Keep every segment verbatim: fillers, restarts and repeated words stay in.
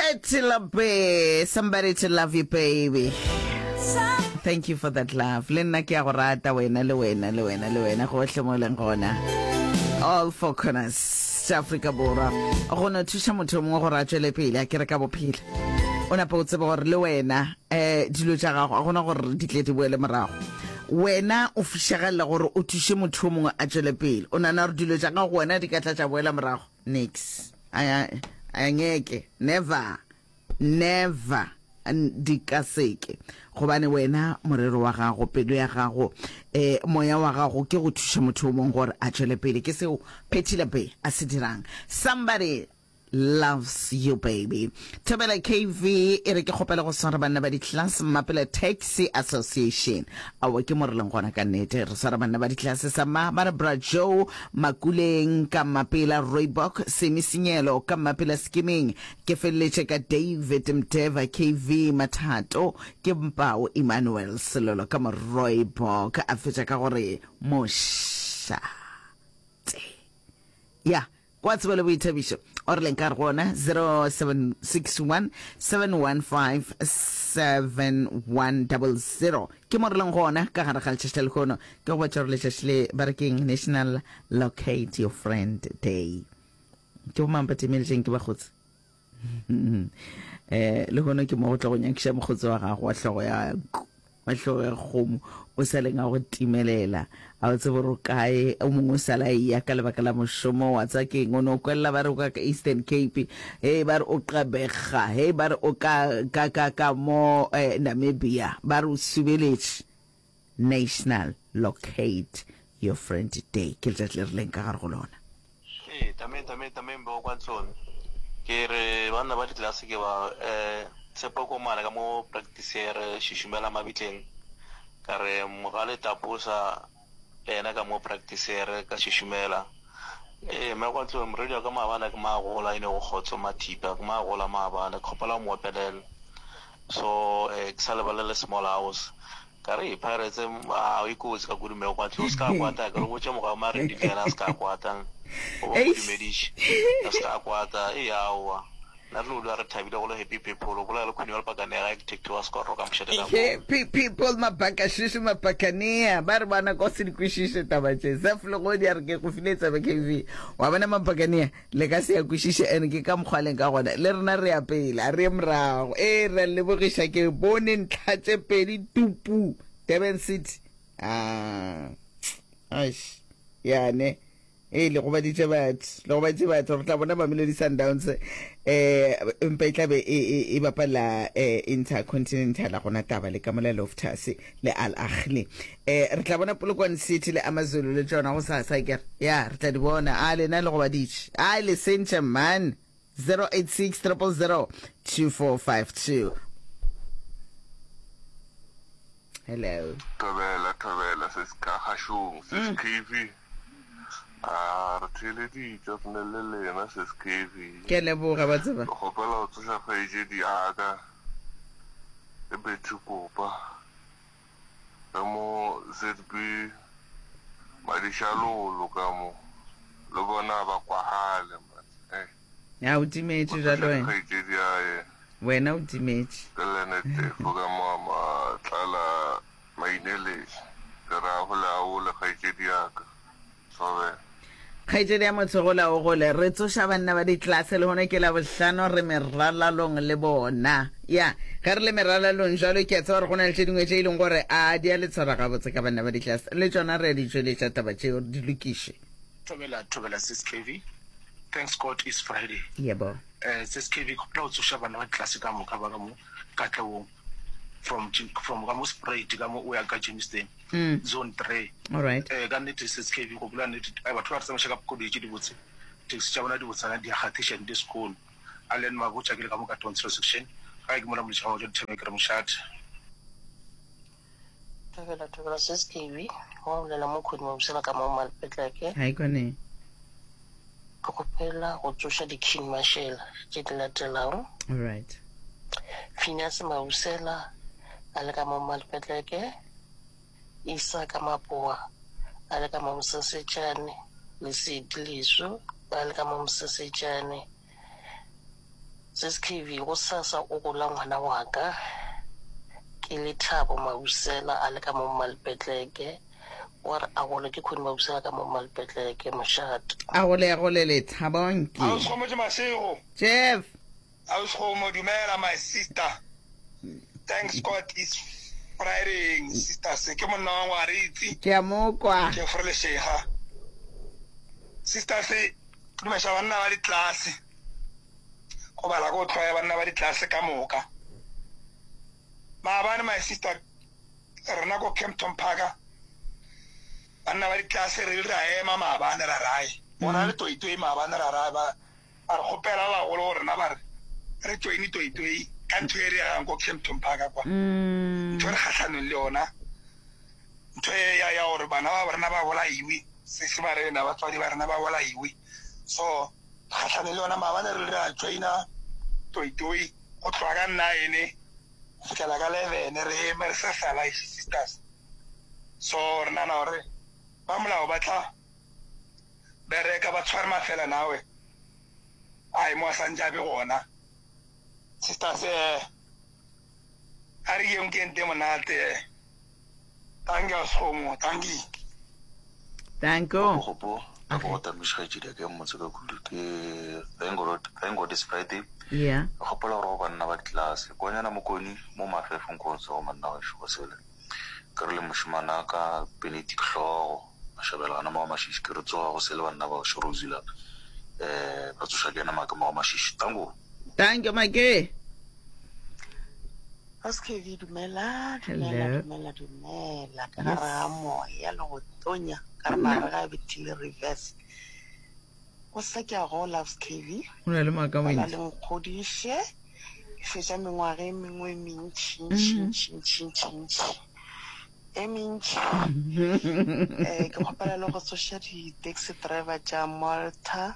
Patti LaBe, somebody to love you baby. Thank you for that love. Le nna ke a go rata wena le wena le wena le wena gohle mo leng gona. All four corners tša Afrika Borwa. Go no thuša motho mongwe gore a tšwele pele a kere ka bophelo. O napa o tsebe gore le wena eh dilo tša gago a gona gore di tle di boele morago. Wena o fišagalela gore o thuše motho o mongwe a tšwele pele. O nana gore dilo tša gago wena di ka tla tša boela morago. Nix. A a ngeke. Never. Never. Di ka seke. Gobane wena morero wa gago, pelo ya gago, eh moya wa gago ke go thuša motho o mongwe gore a tšwele pele. Ke seo Patti LaBe a se dirang. Somebody loves you baby. Thobela K V e re ke kgopela go swara banna ba di-class Mmapela Taxi Association. Aowa ke mo re leng gona ka nnete. Re swara banna ba di-class sa ma ba re Bra Joe Makuleng ka Mmapela Rooibok Semi Senyelo ka Mmapela Skimming. Ke feleletše ka David Mdeva K V Mathato ke Mpao Emmanuel Selolo ka mo Rooibok a fetša ka gore mošate. Ya kwa tsebo le boithabišo o re leng ka re gona zero seven six one seven one five seven one double zero ke mo re leng gona ka gare ga letšatši la lehono. Ke go botša gore letšatši le ba re keng National Locate Your Friend Day. Ke bomang ba timeletšeng ke bakgotsi? Eh lehono ke mo go tlo go nyakiša mokgotsi wa gago wa hlogo ya wa hlogo ya kgomo o sa leng a go timelela a o tsebe gore o kae o mongwe o sala eya ka lebaka la mošomo wa tsa keng o no kwelela ba re o ka ka Eastern Cape hei ba re o Gqeberha hei ba re o ka ka ka ka mo eh, Namibia ba re o subeletše. National Locate Your Friend Day ke letšatši le re leng ka gare go lona. Ee, tameng tameng tameng bo kwa ntlong. Ke re banna ba ditlelase ke ba eh Tshepo Komana ka mo practice re šišumela mabitleng. Ka re Mogale Taposa le yena ka mo practice re ka šišumela. Ee, mme kwa ntlong morwedi wa ka maabane ke magola e ne go kgotso Mathipa ke magola maabane ke kgopela o mo opelele. So eh ke sa lebalele small house. Ka re Pirates a e kotsi ka kudu mme kwa ntlong o se ka kwata ke re botše moga Maredi le yena a se ka kwata. O bo mo dumediše a se ka kwata e aowa. Nna re lo re thabile go le happy people o bolela le Queen wa Lepakanega e ke wa skorro ka mošate ka mo. Happy people mabakashishi mabakania ba re bana ko se di kwešiše taba tše. Zef Legodi a re ke go file tsebe K V wa bona mabakania le ka se ya kwešiše and ke ka mokgwa leng ka gona le rena re ya pele a re ye morago. Ee re a lebogiša ke bone ntlha tše pedi tupu Durban City. Ah aish yane e le gobaditše batho le gobaditše batho re tla bona Mamelodi Sundowns eh empa e tla be e e bapala eh Intercontinental a gona taba le ka mola Loftus le Al Ahly eh re tla bona Polokwane City le AmaZulu le tšona go sa sa kere ya re tla di bona a lena le gobaditše a le sentše man zero eight six triple zero two four five two. Hello. Thobela thobela se se ka kgašong se se K V. A re theeleditše re ne le lena sis K V. Ke a leboga ba tseba. Ke kgopela go tsoša kgaetšedi ya ka ke Betty Kopa re mo Z B Madišalolo ka mo le bona ba kwagale man eh. Ya o timetše Go bjalo tsoša wena. kgaetšedi ya ye. Wena o timetše. Ke Leonard Tefo ka mo Matlala Maineledi. Ke re a gole a ole kgaetšedi ya ka. Thobela. Kgaetšedi ya motho gola o gole. Re tsoša banna ba ditlase lehono ke Labohlano re meralalong le bona. Ya, ge re le meralalong jwalo ke a tseba gore go na le tše dingwe tše e leng gore a di a le tshwara gabotse ka banna ba ditlase. Le tšona re a di tšweletša taba tšeo di lokiše. Thobela thobela sis K V. Thanks God is Friday. Yebo. Eh sis K V ke kgopela go tsoša bana ba ditlase ka moka ba ka mo Katlehong from from ka mo Spruit ka mo o ya ka Germiston Mm. zone three. All right. Eh ka nnete sis K V go bolela nnete ai batho ba re tsamaiša ka koloi tše dibotse taxi tša bona di botsana di a kgathiša nte sekolo. Allen Mabotja ke le ka mo ka Tonsel section gae ke mola moletši ga wa tšwa dithabeng ke re mošate. Thobela thobela sis K V wa bolela mo Khodi Mabusela ka mo Malpetleke. Hi Kone. Ke kgopela go tsoša di-king mashela tše di latelago. All right. Phineas Mabusela a le ka mo Malpetleke, Isaka Mapoa a le ka mo Mosesetšane, Lesedi Leso a le ka mo Mosesetšane, Sis K V, gosasa o gola ngwana wa ka, ke Lethabo Mabusela a le ka mo Mmalpetleke. Wa re a gole ke Connie Mabusela ka mo Mmalpetleke, mošate. A gole a gole Lethabo nke. Ausi Kgomotšo Mashego. Jeff. Ausi Kgomo dumela my sister. Thanks God it's Friday sister se ke monna wa Ngwaritsi. Ke a mo kwa. Jeffrey Leshega. Sister se dumeša banna ba ditlase. Go bala ko tlhoya banna ba ditlase ka moka. Maabane my sister rena ko Kempton Park banna ba ditlase re ile ra ema maabane ra rae. Bona le toitoi maabane ra rae ba ba re kgopela ba bagolo go rena ba re re joine toitoi ka ntho e re yagang ko Kempton Park kwa. Ntho e re kgahlanong le yona ntho e ya ya gore bana ba rena ba bolaiwe sese ba rena batswadi ba rena ba bolaiwe so kgahlanong le yona maabane re ile ra joina toitoi go tloga ka nine go fihlela ka eleven re eme re sa sala sisters so re nagana gore ba molao ba tla bereka ba tshware mafela nawe ai mo a santse a be gona sisters eh a re yeng ke nte monate thank you Sekgomo thank you. Danko. Gopo ka go tamiša kgaetšedi ke mmotse ka kudu ke thank God thank God it's Friday. Yeah. Ke kgopela gore go banna ba ditlelase kwanyana mokoni mo mafefong ko tse go manna gešo go sele ke re le mošemana ka Benedict Hlogo mashabela gana mo ga Mashishi ke re tsoga go sele banna ba gešo Rosila eh ba tsoša ke ena maake mo ga Mashishi tango. Thank you Make. S K V dumela dumela Hello. dumela dumela ka gare ga Yes. moya le go tonya ka re Nna. mare ga bethile reverse go sa ke a gola S K V O na le maaka bala montši. le nkgodiše ke fetša mengwaga e mengwe e mentši Mm. ntši ntši ntši ntši e mentši um ke kgopela le go tsoša di-taxi driver tša Malta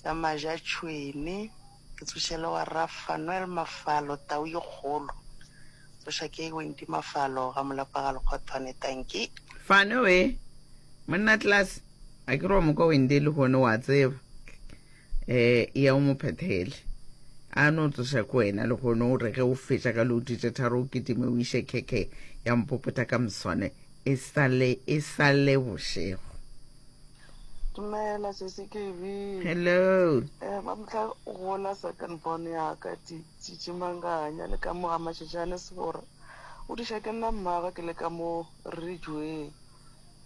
tša Majatšhwene ke tsoše le wa Rafanuel Mafalo tau ye kgolo tsoša ke Wendy Mafalo ga molapa ga Lekgothwane tanki. Fano we. Monna class. A ke re wa mo kwa Wendy le gone wa tseba. Eh ya o mo phethele. A no tsoša ko wena le gone o re ge o fetša ka loto tše tharo o kitime o iše khekhe ya mpopota ka moswane e sale e sale bošego. Dumela sesi K V. Hello. Eh ba motla gola second born ya ka Tšitši Manganya le ka mo ga Mashashane Sebora. O diša ke nna mmagwe ke le ka mo Ridgeway.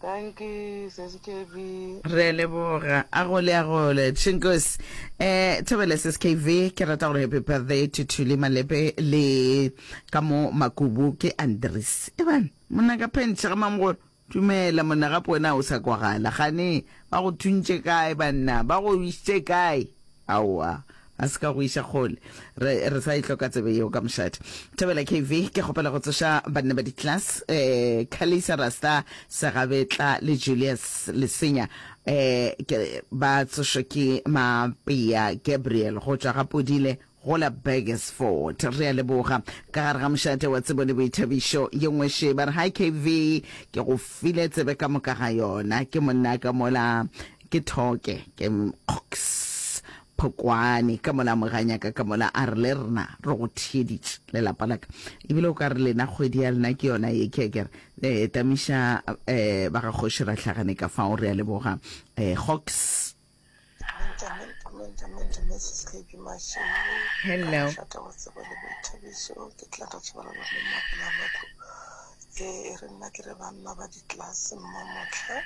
Thank you sesi K V. Re a leboga a gole a gole Chinkos eh thobela S S K V ke rata gore happy birthday to Thuli Malepe le ka mo Makubu ke Andres eban monna ka pentšhe ga mamogolo dumela monna gape wena o sa kwagala gane ba go thuntše kae banna ba go išitše kae aowa a se ka go iša kgole re re sa e hloka tsebe yeo ka mošate thobela K V ke kgopela go tsoša banna ba di-class eh Kalisa Rasta Segabetla le Julius Lesenya eh ke ba tsošwa ke Mapea Gabriel go tšwa ga Podile go la Burgersfort re a leboga ka gare ga mošate wa tsebo le boithabišo ye nngwe še ba re hi K V ke go file tsebe ka moka ga yona ke monna ka mola ke thoke ke Cox Phokwane ka mola moganyaka ka mola a re le rena re go theeditše lelapa la ka ebile o ka re lena kgwedi ya lena ke yona ye ke kere eh tamiša eh ba ga kgoši ra hlagane ka fao re a leboga eh Hawks. Menta, menta, menta, Missus K B Mashego ka Hello. mošate wa tsebo le boithabišo ke tla re tšhabalala mo mapela matlo e re nna ke re banna ba ditlelase mmamotla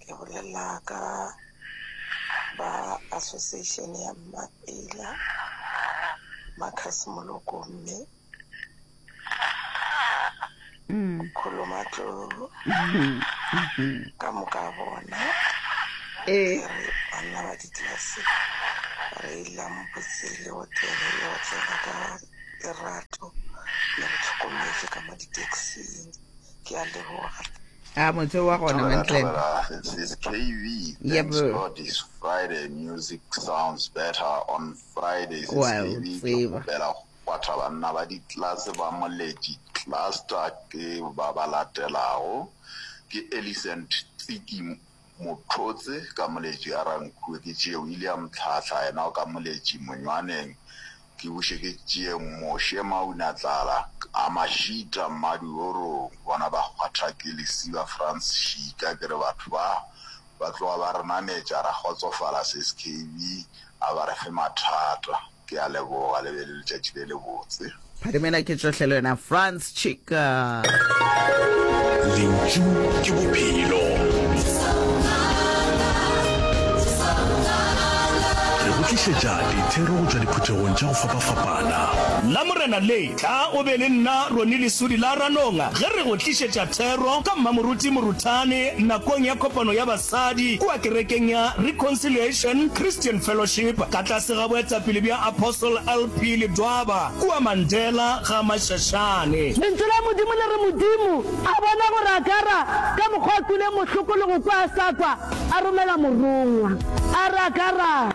ke bolela ka ba association ya Mmapela Marcus Moloko mme mm. Kholomatlo ka moka bona eh ke re banna ba ditlelase re ilampotse le otele le otlela ka lerato le re tlhokometše ka mo di-taxing ke a leboga. A motse wa gona Thobela, Mantlen. Thobela, this is K V. Thanks Yebo. God it's Friday. Music sounds better on Fridays. It's Wa K V. Ke tseba. kgopela go kwatha banna ba ditlelase ba Moletši cluster ke ba ba latelago ke Elicent Tsiki Mothotse ka Moletši a Rankuwe, ke tšee William Tlhahla yena o ka Moletši Monywaneng, ke buše ke tšee Moshe Maunatlala a Mashita Mmadiorong, bona ba kgwatha ke Lesiba Frans Šika, ke re batho ba ba tloga ba re nametša ra kgotsofala Sis K B a ba re fe mathata. Ke a leboga, le be le letšatši le lebotse. Phadimela ke tšohle le wena Frans Chika. Lentšu ke bophelo. Re go tlišetša dithero go tšwa diphuthegong tša go fapafapana. Lamorena le, tla o be le nna Ronnie Lesudi la Ranong ge re go tlišetša thero ka Mmamoruti Moruthane nakong ya kopano ya basadi kua kerekeng ya Reconciliation Christian Fellowship ka tlase ga boetapele bja Apostle L P Ledwaba kua Mandela ga Mashashane. Lentšu la Modimo le re, Modimo a bona gore Agara ka mokgwa a kwile mohloko le go kwa a sa kwa, a romela morongwa, a re, Agara,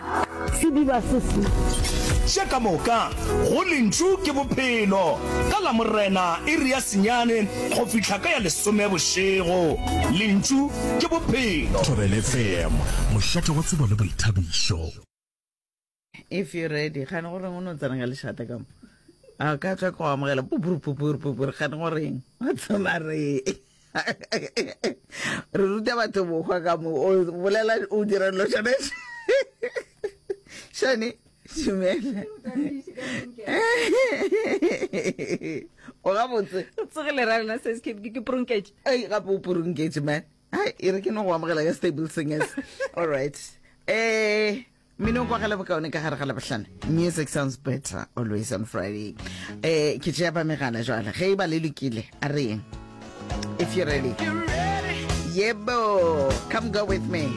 sediba se se. Tše ka moka go Lentšu ke Bophelo, ka Lamorena iri ya senyane go fihla ka ya lesome bošego. Lentšu ke Bophelo. Thobela F M, mošate wa tsebo le boithabišo. If you ready, gane go reng o no tsena ka lešata ka mo? A ka tla go amogela pupuru pupuru pupuru, gane go reng? Wa tsoma re. Re ruta batho bohwa ka mo, o bolela o dira dilo tšone. Shani, dumela. O gabotse? O tsogile ra lena se ke ke prunketše. Ei, gape o prunketše man. Hai, e re ke no go amogela ka Stable Singers. All right. Eh, mmino o kwagala bokaone ka gare ga Labohlano. Music sounds better always on Friday. Eh, ke tšea ba megala jwale. Ge e ba le lokile, a re yeng. If you're ready. Yebo, come go with me.